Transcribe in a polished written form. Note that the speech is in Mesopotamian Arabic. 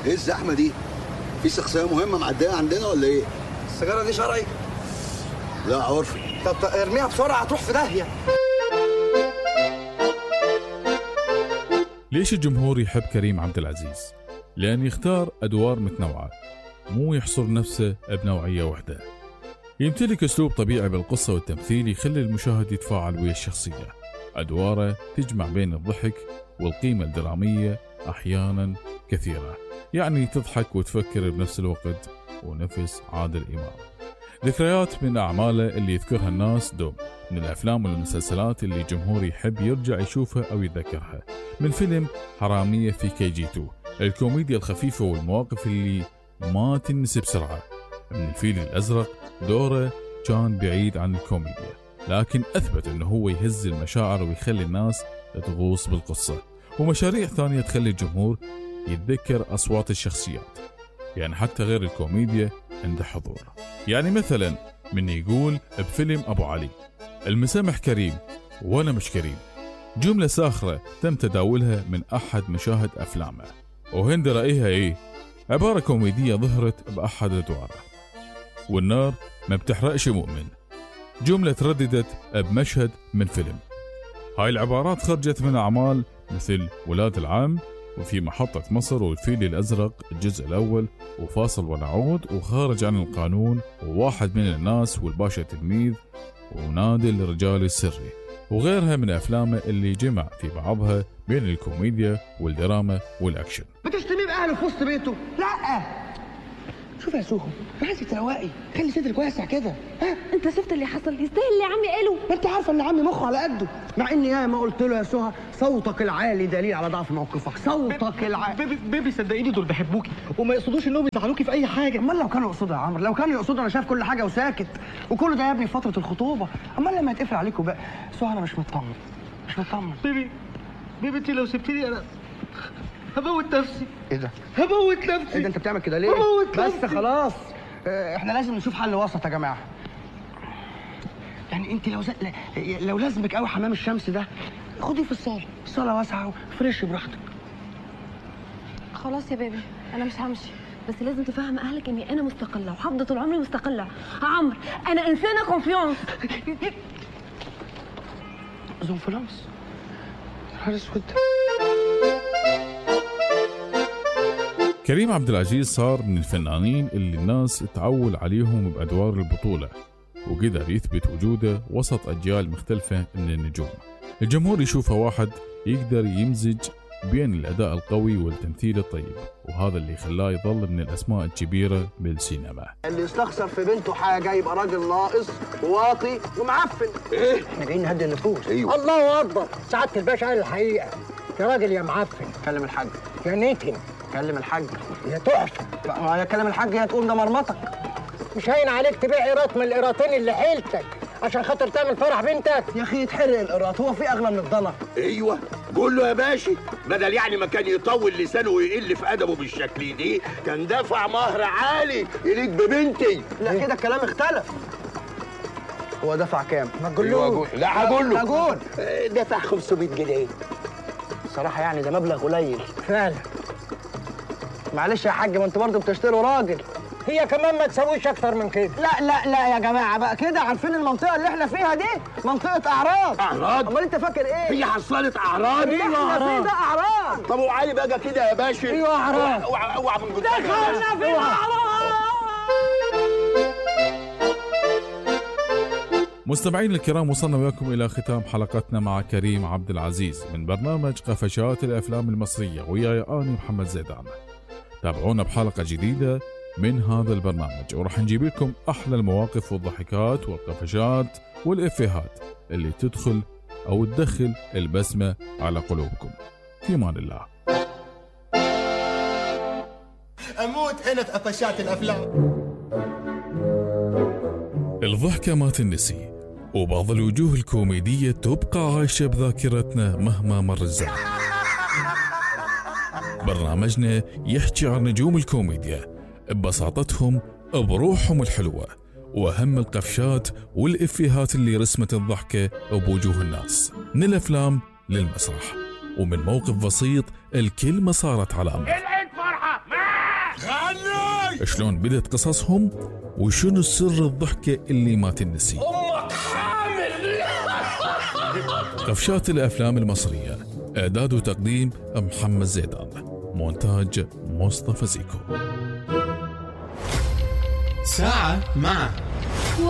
ايه الزحمه دي؟ في شخصيه مهمه معديه عندنا ولا ايه؟ السيجاره دي شرعي؟ لا عرفي. طب ارميها بسرعه هتروح في داهيه. ليش الجمهور يحب كريم عبد العزيز؟ لأن يختار أدوار متنوعة، مو يحصر نفسه بنوعية واحدة. يمتلك أسلوب طبيعي بالقصة والتمثيل يخلي المشاهد يتفاعل ويا الشخصية. أدواره تجمع بين الضحك والقيمة الدرامية أحيانا كثيرة، يعني تضحك وتفكر بنفس الوقت، ونفس عادل إمام. ذكريات من أعماله اللي يذكرها الناس دوم، من الأفلام والمسلسلات اللي الجمهور يحب يرجع يشوفها أو يتذكرها، من فيلم حرامية في KG2، الكوميديا الخفيفة والمواقف اللي ما تنسي بسرعة. من الفيل الأزرق دوره كان بعيد عن الكوميديا، لكن أثبت أنه هو يهز المشاعر ويخلي الناس تغوص بالقصة. ومشاريع ثانية تخلي الجمهور يتذكر أصوات الشخصيات، يعني حتى غير الكوميديا عنده حضور. يعني مثلا من يقول بفيلم أبو علي المسامح كريم وأنا مش كريم، جملة ساخرة تم تداولها من أحد مشاهد أفلامه، وهند رأيها إيه؟ عبارة كوميدية ظهرت بأحد أدواره. والنار ما بتحرقش مؤمن، جملة ترددت بمشهد من فيلم. هاي العبارات خرجت من أعمال مثل ولاد العم، وفي محطة مصر، والفيل الأزرق الجزء الأول، وفاصل ونعود، وخارج عن القانون، وواحد من الناس، والباشا تلميذ، ونادي الرجال السري، وغيرها من أفلامه اللي جمع في بعضها بين الكوميديا والدراما والأكشن. بتشتميه بأهله في وسط بيته؟ لا. شوف يا سوهو، عايزك تروقي، خلي صدرك واسع كده. ها انت شفت اللي حصل؟ يستاهل اللي عمي قاله. ما انت عارفه ان عمي مخه على قده، مع اني ياما قلت له يا سوها صوتك العالي دليل على ضعف موقفك. صوتك العالي. بيبي صدقيني دول بيحبوكي وما يقصدوش انهم يزعلوكي في اي حاجه. امال لو كانوا يقصدوا يا عمرو، لو كانوا يقصدوا انا شايف كل حاجه وساكت، وكل ده يا ابني في فتره الخطوبه. امال لما يتقفل عليكم بقى؟ سوها انا مش مطمن، مش مطمن. بيبي انت لو سبتيني انا هموت نفسي. ايه ده؟ هموت نفسي. ايه ده انت بتعمل كده ليه؟ بس خلاص، احنا لازم نشوف حل وسط يا جماعه. يعني انت لو لازمك قوي حمام الشمس ده، خديه في الصاله، الصاله واسعه وفريش براحتك. خلاص يا بيبي انا مش همشي، بس لازم تفهم اهلك اني انا مستقله وهفضل طول عمري مستقله. عمرو انا انسانه كونفيونس. زنفلانس نهار اسود. كريم عبد العزيز صار من الفنانين اللي الناس تعول عليهم بأدوار البطولة، وقدر يثبت وجوده وسط أجيال مختلفة من النجوم. الجمهور يشوفه واحد يقدر يمزج بين الأداء القوي والتمثيل الطيب، وهذا اللي خلاه يظل من الأسماء الكبيرة بالسينما. اللي يستخسر في بنته حاجة يبقى راجل ناقص وواطي ومعفن. ايه؟ احنا جايين نهدي النفوس. ايوه. الله اكبر، سعاده الباشا قال الحقيقه. يا راجل يا معفن. كلم الحاج. يا نتن. كلم الحاج. يا تحفه. يا كلم الحاج يا تقوم ده مرمطك. مش هين عليك تبيع قيراط من القيراطين اللي حيلتك عشان خاطر تعمل فرح بنتك؟ يا اخي يتحرق القيراط، هو في اغلى من الضنا؟ ايوه قول له يا باشا، بدل يعني ما كان يطول لسانه ويقل في ادبه بالشكل دي، كان دفع مهر عالي يليق ببنتي. لا كده الكلام اختلف. هو دفع كام؟ ما تقولوش. لا هقول له. هقول دفع 500 جنيه. الصراحه يعني ده مبلغ قليل فعلا. معلش يا حاج، ما انتوا برضه بتشتروا راجل. هي كمان ما تسويش اكتر من كده. لا يا جماعه بقى كده، عارفين المنطقه اللي احنا فيها دي منطقه اعراض. اعراض؟ امال انت فاكر ايه؟ هي حصلت اعراض؟ اللي احنا فيه ده اعراض. طب وعلي بقى كده يا باشا. ايوه اعراض. اوعى من قدامي. دخلنا في اعراض. مستمعين الكرام، وصلنا وياكم إلى ختام حلقتنا مع كريم عبد العزيز من برنامج قفشات الأفلام المصرية، وياي أنا محمد زيدان. تابعونا بحلقة جديدة من هذا البرنامج، ورح نجيب لكم أحلى المواقف والضحكات والقفشات والإفيهات اللي تدخل أو تدخل البسمة على قلوبكم. في أمان الله. أموت أنا في قفشات الأفلام. الضحكة ما تنسي، وبعض الوجوه الكوميدية تبقى عايشة بذاكرتنا مهما مر الزمن. برنامجنا يحكي عن نجوم الكوميديا ببساطتهم، بروحهم الحلوة، وأهم القفشات والإفيهات اللي رسمت الضحكة بوجوه الناس، من الأفلام للمسرح، ومن موقف بسيط الكلمة صارت علامة. العيد فرحة. غني. شلون بدت قصصهم وشنو سر الضحكة اللي ما تنسي. امك حامل. قفشات الأفلام المصرية، إعداد وتقديم محمد زيدان، مونتاج مصطفى زيكو. ساعة مع